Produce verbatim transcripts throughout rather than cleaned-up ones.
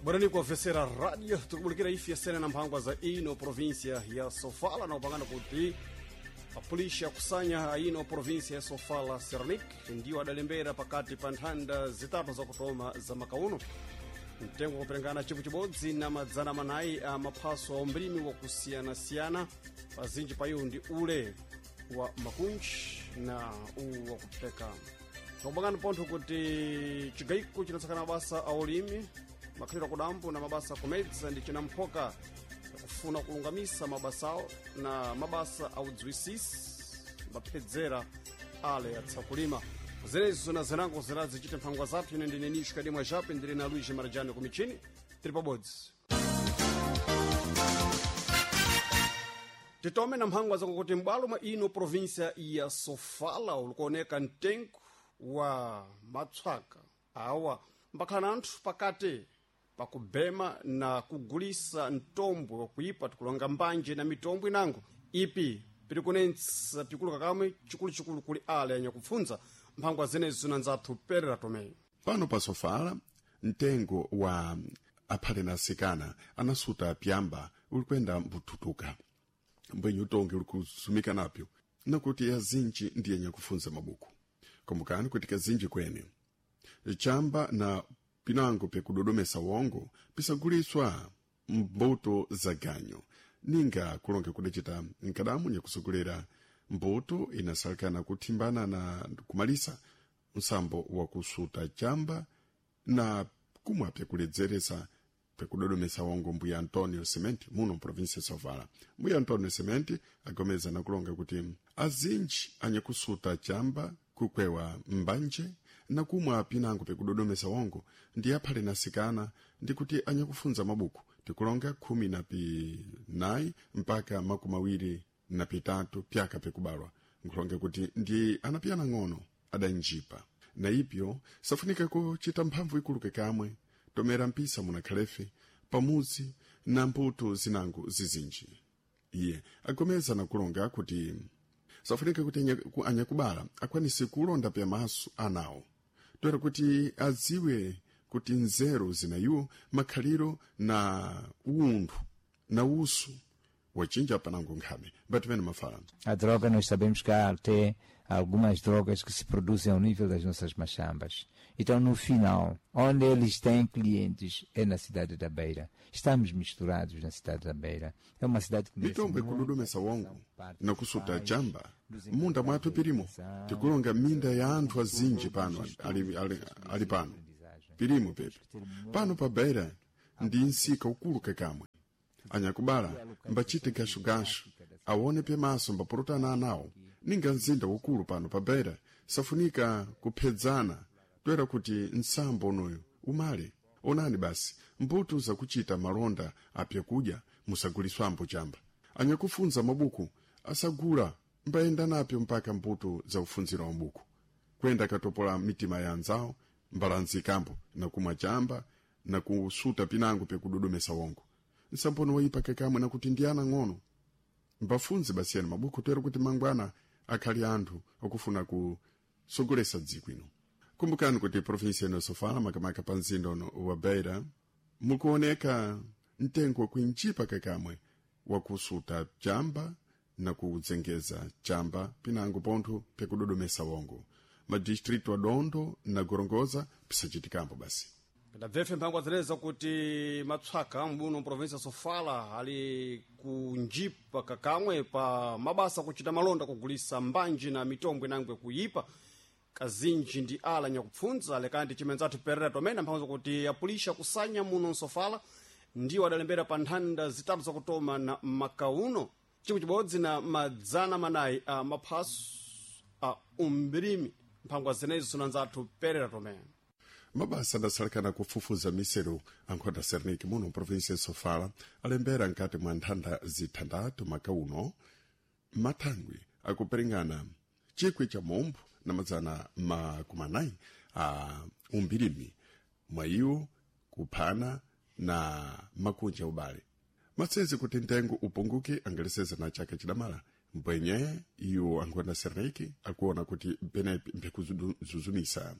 Bwerani kuofesera radio tikubulikira ife yasene na mphangwa za ino província ya Sofala na upangana kuti apolisi akusanya ino província ya Sofala Sernik ndiwo adalembera pakati pa nthanda zitatu zakutoma za makauno mtengo wakuperengana chipu chibodzi na madzana manayi a maphaso a umlimi wakusiyanasiyana pazinji pa iwo ndi ule wa makunji na uwu wakupeka tikupangana pontho kuti chigayiko chinatsakana mabasa a ulimi makhaliro akudambo na mabasa akumedza ndi chinamphoka yakufuna kulungamisa mabasawo na mabasa audziwisisi mbaphedzera ale atsakulima zenezo na zinango zirazichita mphangwa zathu. Ine ndine Nisho Kadimwa Jape, ndili na Luigi Marajani kumichini, tili pabodzi. Titome na mphangwa zakuti m'bwalo mwa ino província ya Sofala ulikuoneka mtengo wa matswaka awa mbakhala na anthu pakati pakubema na kugulisa mtombwe wakuipa tikulonga mbanje na mitombo inango ipi pili kunentsa pikuluka kamwe chikuluchikulu kuli ale anyakupfunza mphangwa zenezo na nzathu Perera Tomei. Pano pa Sofala mtengo wa aphale na asikana anasuta pyamba ulikwenda mbututuka mbwenye utonge uli kusumika napyo nakuti azinji ndiye nyakufunza mabuku. Kumbukani kuti kazinji kwene chamba na pinango pyakudodomesa wongo pisaguliswa mbuto za ganyo ninga kulonge kudacita nkadamu nyakusogolera mbuto inasalikana kuthimbana na kumalisa msambo wa kusuta chamba na kumwa pyakuledzeresa pyakudodomesa wongo. Mbuya Antonio Sementi muno mprovinsia ya Sofala. Mbuya Antonio Sementi agomeza na kulonga kuti azinji anyakusuta chamba, kukwewa mbanje na kumwa pinango pyakudodomesa wongo ndi aphale nasikana ndi kuti anyakufunza mabuku tikulonga khumi na pinayi mpaka makumi awiri na pitatu pyaka pyakubalwa, nkulonga kuti ndi anapiyana ng'ono adanjipa na ipyo safunika kuchita mphamvu ikuluke kamwe tomera mpisa munakhalefe pamuzi na mbuto zinango zizinji. Iye agomeza na kulonga kuti safunika kuti anyakubala akwanise kulonda pyamaso anawo toera kuti adziwe kuti nzeru zinayiwo makhaliro na unthu na usu wachinja panango nkhame mbatimene mafala. A droga, nós sabemos que há até algumas drogas que se produzem ao nível das nossas machambas. Então, no final, onde eles têm clientes é na cidade da Beira. Estamos misturados na cidade da Beira. É uma cidade que merece mitombo ikudodomesa wongo na kusuta chamba munda mwathu pirimo tikulonga minda ya anthu azinji pano ali, ali, ali pano pirimo pepe pano pa Beira ndi nsika ukulu kakamwe anyakubala mbachite gashugashu awone pyamaso mbapulutana anawo ninga mzinda ukulu pano pa Beira safunika kuphedzana toera kuti nsambo unoyo umale. Onani basi mbuto zakuchita malonda apyakudya musaguliswambo chamba anyakufunza mabuku asagula mbayenda napyo mpaka mbuto za ufunzira wa mabuku kwenda katopola mitima ya anzawo mbalanzikambo na kumwa chamba na kusuta pinango pyakudodomesa wongo nsambono wayipa kakamwe nakuti ndi ana ng'ono mbafunze basiyani mabuku toera kuti mangwana akhali anthu okufuna kusogolesa dziko ino. Kumbukani kuti provinsia ino Sofala makamaka pa mzinda uno wa Beira mukuoneka mtengo wakuinjipa kakamwe wakusuta chamba na kudzengeza chamba pinango pontho pyakudodomesa wongo madistritu a Dondo na Gorongoza pisachitikambo basi. Ndabvefe mphangwa zeneza kuti matswaka mbuno mprovinsia Sofala ali kunjipa kakamwe pa mabasa kuchita malonda kugulisa mbanji na mitombo inangwe kuyipa kazinji ndi ala nyakupfunza lekandi chimenzathu Perera Tomene mphamvu kuti apulisha kusanya muno msofala ndiwo adalembera pa nthanda zitatu zakutoma na makauno chikwi chibodzi na madzana manayi a maphaso a umbirimi. Mphangwa zenezo na nzathu Perera Tomene. Mabasa adasalikana kufufuza miseru ankhonda Serniki muno mprovinsia ya Sofala alembera nkati mwa nthanda zithandatu makauno mathangwi akuperingana chikwi cha mombo na madzana makumi anayi a umbirimi mwa iwo kuphana na makunja ubale masezi kuti ntengo upunguke angaleseza na chaka chidamala mbwenye iwo ankhonda Serniki akuona kuti penepi mphekuzuzumisa.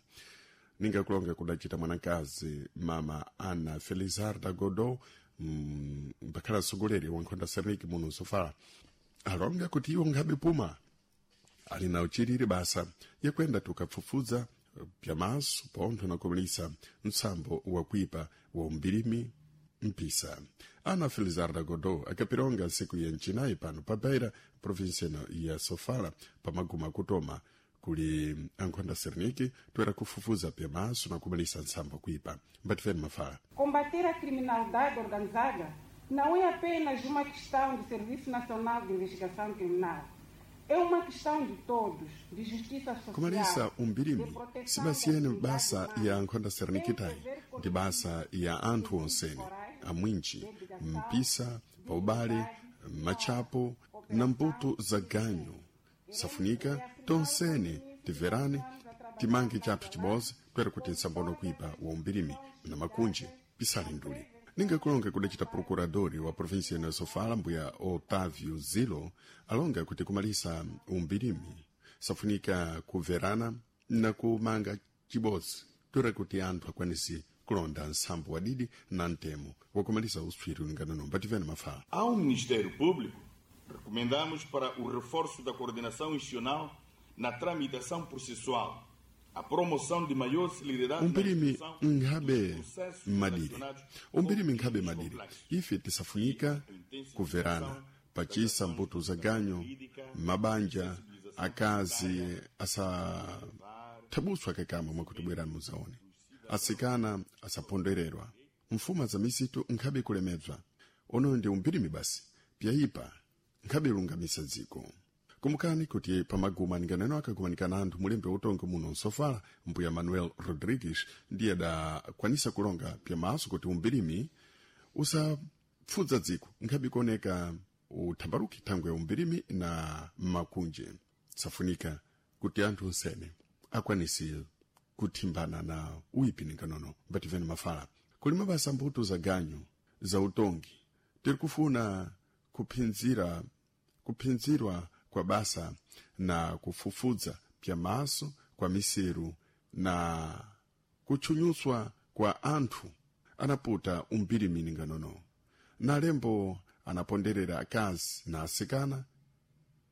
Ningakulonga kudacita mwanakazi mama Ana Felizarda Godot, mm, mbakhala mtsogoleri wa nkhonda Sernik muno Sofala, alonga kuti iwo nkhabe puma ali na uchiriri basa yakwenda tukafufuza pyamaso pontho nakumalisa mtsambo wakuipa wa umbirimi mpisa. Ana Felizarda Godot akapironga nsiku ya ncinayi pano pa Beira, província ya Sofala, pamaguma akutoma kuli ankhonda Serniki toera kufufuza pyamaso na kumalisa ntsambo kuipa. Mbatifeni mafala. Combater a criminalidade organizada não é apenas uma questão do Serviço Nacional de Investigação Criminal. É uma questão de todos, de justiça social. Kumalisa umbirimi de proteção sibasiyene da dignidade basa humana. ya nkhonda Sernikitayi ndi basa ya anthu onsene amwinji mpisa paubale machapo na mputu za ganyu. Safunika tonsene tiverane timange chathu chibodzi toera kuti nsambono kuipa wa umbirimi na makunji pisale nduli. Ningakulonga kudacita procuradori wa província ya Sofala mbuya Otávio Zilo alonga kuti kumalisa umbirimi safunika kuverana na kumanga chibodzi toera kuti anthu akwanise kulonda nsambo wadidi na ntemo wakumalisa uswiri ulingana mbativene mafala. Ao Ministério Público, recomendamos para o reforço da coordenação institucional na tramitação processual, a promoção de maior celeridade na Umpirimi execução nkhabe dos processos madiri relacionados umpirimi com nkhabe crimes madiri complexos. ife tisafunika kuverana pachisa mbuto za ganyo mabanja akazi asathabuswa kekamwe mwakuti bwerani muzaone asikana asapondererwa mfuma za misitu nkhabe kulemedzwa ono ndi umpirimi basi pyayipa nkhabe lungamisa dziko. Kumukani kuti pamaguma ninganeno akagumanikana anthu mulembe utongi muno Nsofala mbuya Manuel Rodrigues ndiye adakwanisa kulonga pyamaso kuti umbirimi usapfudza dziko nkhabe kuoneka uthambaluki thangwe umbirimi na makunje. Safunika kuti anthu onsene akwanise kuthimbana na uipi ninganono. Mbativeni mafala. Kuli mabasa mbuto za ganyu za utongi tiri kufuna kuphinzira kuphinzirwa kwa basa na kufufudza pyamaso kwa miseru na kutchunyuswa kwa anthu anaputa umbirimi ninganono na lembo anaponderera akazi na asikana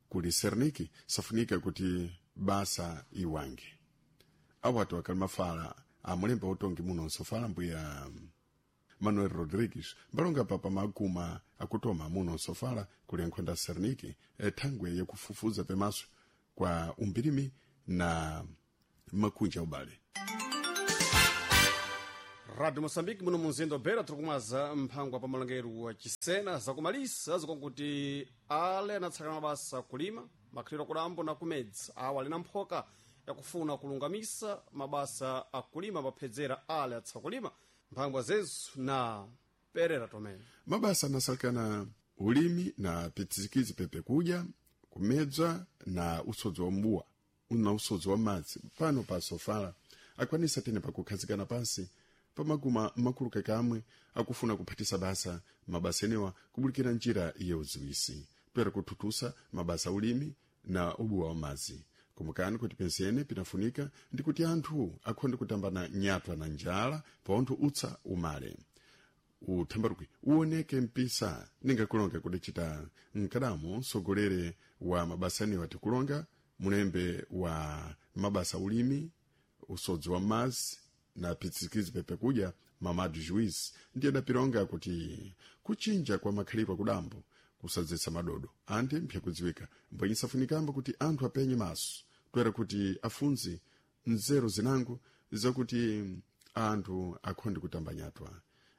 kuli Serniki safunika kuti basa iwange. Awatu akali mafala amulemba utongi muno Nsofala mbuya Manuel Rodrigues mbalonga papa maguma akutoma muno Nsofala kuli nkhonda Serniki thangwe yakufufuza pemaso kwa umbirimi na makunja ubale. Rádio Moçambique muno munzinda wa Beira tiri kumwaza mphangwa pa malongeru wa Chisena zakumalisa zikwakuti ale anatsakana mabasa kulima makhaliro akudambo na kumedzi awo ali na mphoka yakufuna kulungamisa mabasa akulima paphedzera ale atsakulima mphangwa zezu na Perera Tomé. Mabasa anasalekana ulimi na pitsikizi pepe kudya kumedzwa na usodzi wa mbuwa na usodzi wa madzi pano pa Sofala akwanisa tene pakukhazikana pansi pamaguma makulu kakamwe akufuna kuphatisa basa mabasa enewa kubulikira njira ya uziwisi toera kuthutusa mabasa ulimi na ubuwa wa madzi. Kumukani kuti pensene pinafunika ndi kuti anthu akhonde kutambana nyatwa na njala pontho utsa umale uthambaluki uoneke mpisa. Ningakulonga kudacita mkadamo msogolere wa mabasa anewa tikulonga mulembe wa mabasa ulimi usodzi wa madzi na pitsikizi pepe kudya Mamadu Juiz ndiye adapilonga kuti kuchinja kwa makhalidwe akudambo kusadzetsa madodo ante mpyakudziwika mbwenye safunikambo kuti anthu apenye maso toera kuti afunze nzeru zinango zakuti anthu akhonde kutamba nyatwa.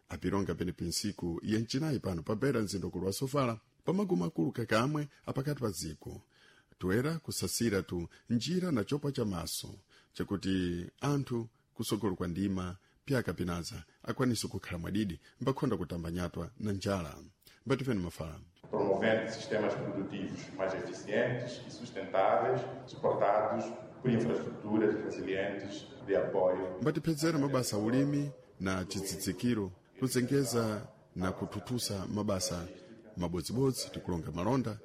Apilonga penepi nsiku ya ncinayi pano pa Beira mzindikulu wa Sofala pamaguma akulu kakamwe apakati pa dziko toera kusasira tu njira na chopa cha maso chakuti anthu kusogolo kwa ndima pyaka pinaza akwanise kukhala mwadidi mbakhonda kutamba nyatwa na njala. Mbatifeni mafala. Promovendo sistemas produtivos mais eficientes e sustentáveis, suportados por infraestruturas resilientes de apoio. Mbatipedzera mabasa ulimi na chitsidzikiro kuzengeza na kuthuthusa mabasa mabodzibodzi tikulonga malonda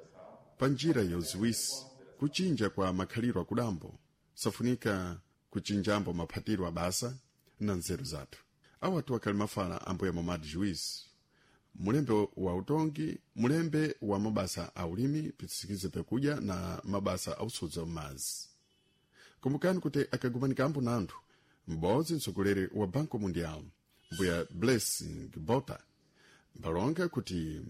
pa njira ya uziwisi kuchinja kwa makhalidwe akudambo safunika Kuchinjambo maphatiro abasa na nzeru zathu. Awatu akali mafala ambuya Momad Juiz, mulembe wa utongi, mulembe wa mabasa a ulimi pisikize pekudya na mabasa a usodza m'madzi. Kumbukani kuti akagumanika na anthu m'bodzi mtsogoleri wa Banco Mundial, mbuya Blessing Bota, mbalonga kuti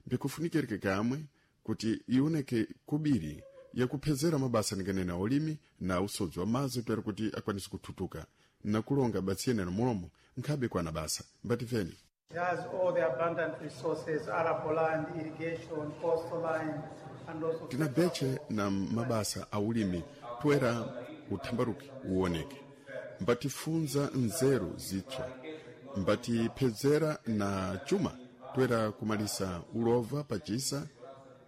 mbikufunikirike kamwe kuti ioneke kubiri yakuphezera mabasa ninganena ulimi na usodzi wa madzi toera kuti akwanise kuthutuka na kulonga batsiyenera mulomo nkhabe kwana basa. Mbatifeni. It has all the abundant resources, arable land, irrigation, coastal line, and also Tina beche na mabasa a ulimi toera uthambaruki uwoneke, mbatifunza nzeru zitswa, mbatiphezera na chuma toera kumalisa ulova pachisa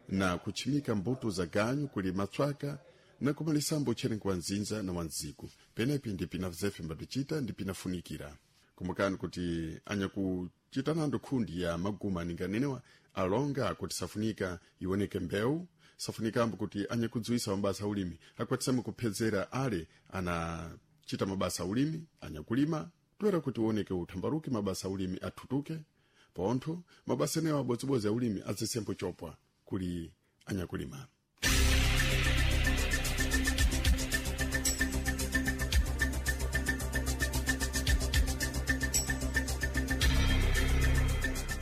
na kuchimika mbuto za ganyu kuli matswaka na kumalisambo utcherengo wa nzinza na wanziku. Penepi ndi pina zefe mbatichita ndi pinafunikira. Kumbukani kuti anyakuchita nando khundi ya maguma ninganenewa alonga kuti safunika ioneke mbewu, safunikambo kuti anyakudziwisa mabasa aulimi akwatisame kuphedzera ale anachita mabasa aulimi anyakulima toera kuti uoneke uthambaruki mabasa aulimi athutuke pontho mabasa enewo abodzibodzi aulimi azisembo chopwa kuli anyakulima.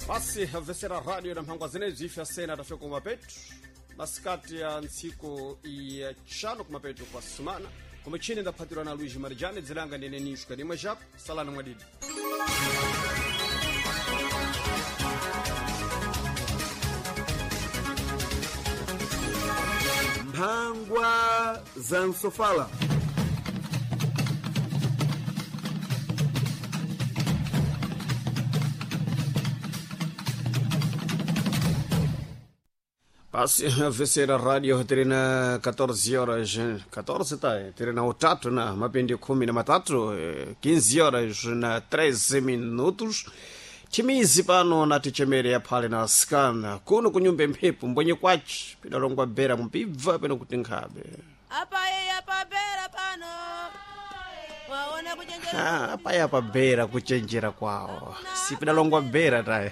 Basi avesera radio na mphangwa zenezi ife asena tafika kumapetu masikati ya ntsiku ya tchano kumapetu kwa sumana kumichini ndaphatirwa na Luiz Marijane dzilanga ndine Nisho Kadimwe Jaco salani mwadidi. Mphangwa za Nsofala. Basi avesera radio terina catorze horas catorze tá terina utatu na mapindi khumi na matatu, eh, quinze horas na treze minutos chimizi pano na tichemere yaphale na asikana kuno kunyumba mphepo mbwenye kwachi pidalongwa bera mupibva peno kuti nkhabe. Apaye apabera pano waona kuchenjera. Ah, apaya pabera kuchenjera kwawo sipidalongwa bera taye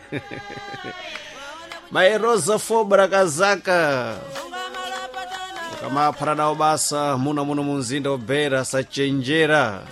Maerosa Fobra kazaka ungamalapatana kamaphara nawo basa muno muno munzinda obera sachenjera.